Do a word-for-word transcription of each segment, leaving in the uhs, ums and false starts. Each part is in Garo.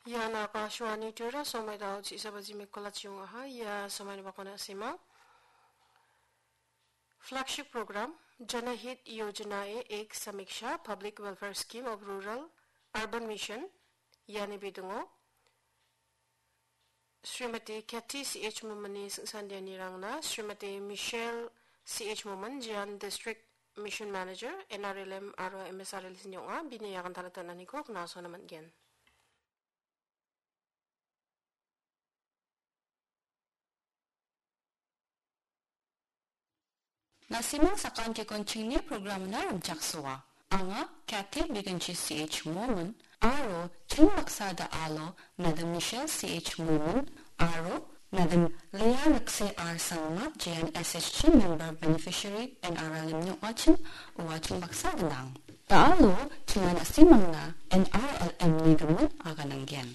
Ian Akashvani Tripura, somoi dao chi·sa baji mekolachi ong·aha. Ia somoini bakona sima. Flagship program, Janahit Yojana e Ek Samiksha, Public Welfare Scheme of Rural Urban Mission, iani bidingo Srimati Kathy C H Mominni singsandianirangna Srimati Michelle C H Momin, Jian District Mission Manager, N R L M aro M S R L S-ni ong·a, bini agantalata naniko knasona man·gen. Na·simang sakantikon chingni programna rimchaksoa. Anga Kathy Biginchi C H Momin aro ching baksa da·alo Madam Michelle C H Momin aro Madam Leah Rikse R Sangma J N S H G member beneficiary N R L M-ni ong·achim, ua ching baksa gnang. Da·alo chinga na·simangna N R L M-ni gimin agananggen.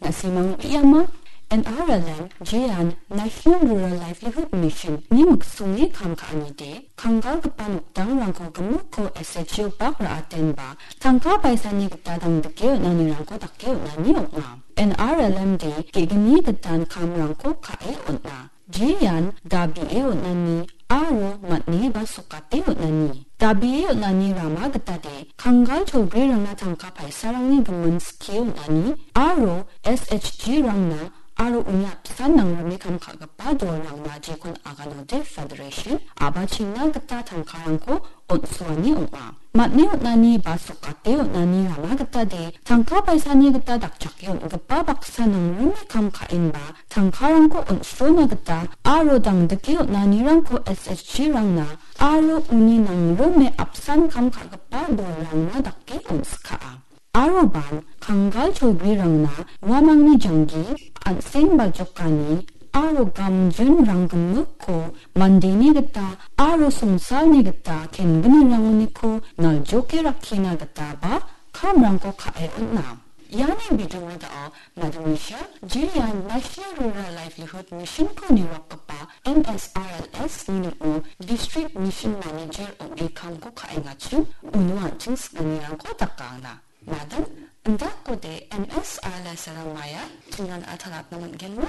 Na·simang uiama N R L M Jian National Rural Livelihood Mission-ni miksonge kam ka·anide, kanggalgipa nokdangrangko gimikko S H G-o bak ra·atenba tangka paisani gita dangdike on·anirangko dake on·ani ong·a. N R L M-de ge·gni gitan kamrangko ka·e on·a. Jean dabie on·ani aro man·e ba sokate on·ani. Dabie on·ani rama gitade kanggal cholgrirangna tangka paisarangni gimin skie on·ani aro S H G-rangna aro uni apsan nangrime kam ka·gipa dolrangna jekon aganode federation a·bachengna gita tangkarangko on·suani ong·a. Man·e on·ani ba sokate on·ani rama gitade tangka paisani gita dakchake on·gipa baksa nangrime kam ka·enba tangkarangko on·srona gita aro dangdike on·anirangko S H G-rangna aro uni nangrime apsan kam ka·gipa dolrangna dake on·skaa. Aroban kanggal cholgrirangna uamangni janggi, an·seng baljokani aro gamjinrang gimikko mandeni gita aro songsalni gita kengnirangko naljoke rakkina gitaba kamrangko ka·e on·a. Iani bidingo da·o Madam Michelle Jian National Rural Livelihood Mission-ko niwakgipa M S R L S-ni ning·o District Mission Manager ong·e kamko ka·engachim uno an·ching sing·anirangko dakangna. Madam, indakode M S R L S-ara maia chingan atalatna man·genma?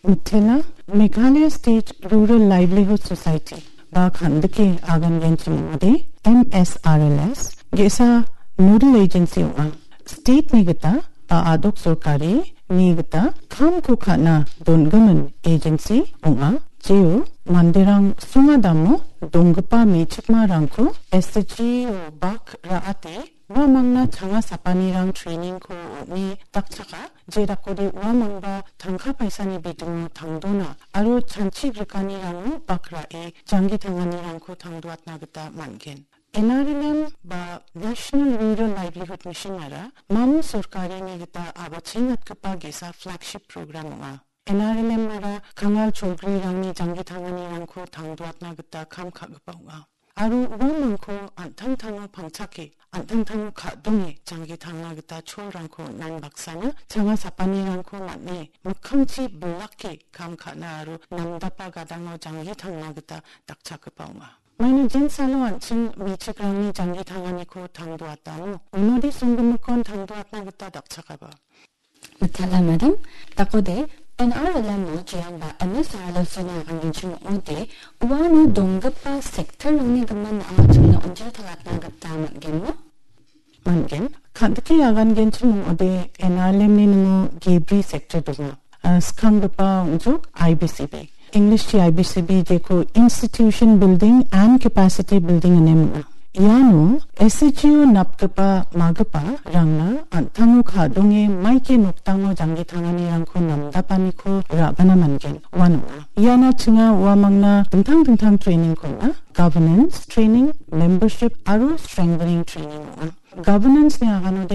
Mitela, Meghalaya State Rural Livelihood Society ba kandike agangenchim ong·ode, M S R L S ge·sa nodal agency ong·a. State-ni gita ba a·dok sorkari ni gita kamko ka·na dongimin agency ong·a. Jeo manderang sunga damo donggipa me·chikmarangko S H G-o bak ra·ate uamangna changa sapanirang training-ko on·e dakchaka, jedakode uamangba tangka paisani bidingo tangdona aro chanchi grikanirango bak ra·e janggi tanganirangko tangdoatna gita man·gen. N R L M ba National Rural Livelihood Mission-ara mamo sorkarini gita a·bachengatgipa ge·sa flagship program ong·a. N R L M-ara kangal cholgrirangni janggi tanganirangko tangdoatna gita kam ka·gipa ong·a. Aro uamangko an·tangtango pangchake, an·tangtango ka·donge janggi tangna gita cholrangko on·ani baksana changa sapanirangko man·e mikkangchi bilake kam ka·na aro namdapa gadango janggi tangna gita dakchakgipa ong·a. Maina jensalo an·ching me·chikrangni janggi tanganiko tangdoatamo, unode songgimikon tangdoatna gita dakchakaba. Mitela madam, dakode N R L M-o jeamba M S R L S-oni agangenchim ong·ode, uano donggipa sector-rangni gimin a·chingna onjil talatna gita man·genmo? Man·gen. Kandike agangenchim ong·ode N R L M-ni ningo gebri sector donga. Ah, skanggipa ong·jok I B C B. English-chi I B C B jeko Institution Building and Capacity Building ine minga. Iano S H G-o napgipa magipa rangna an·tango ka·donge maike nokdango janggi tanganirangko namdapaniko ra·bana man·gen, uan ong·a. Iana chinga uamangna dingtang dingtang training-ko on·a, governance training, membership aro strengthening training ong·a. Governance-ni aganode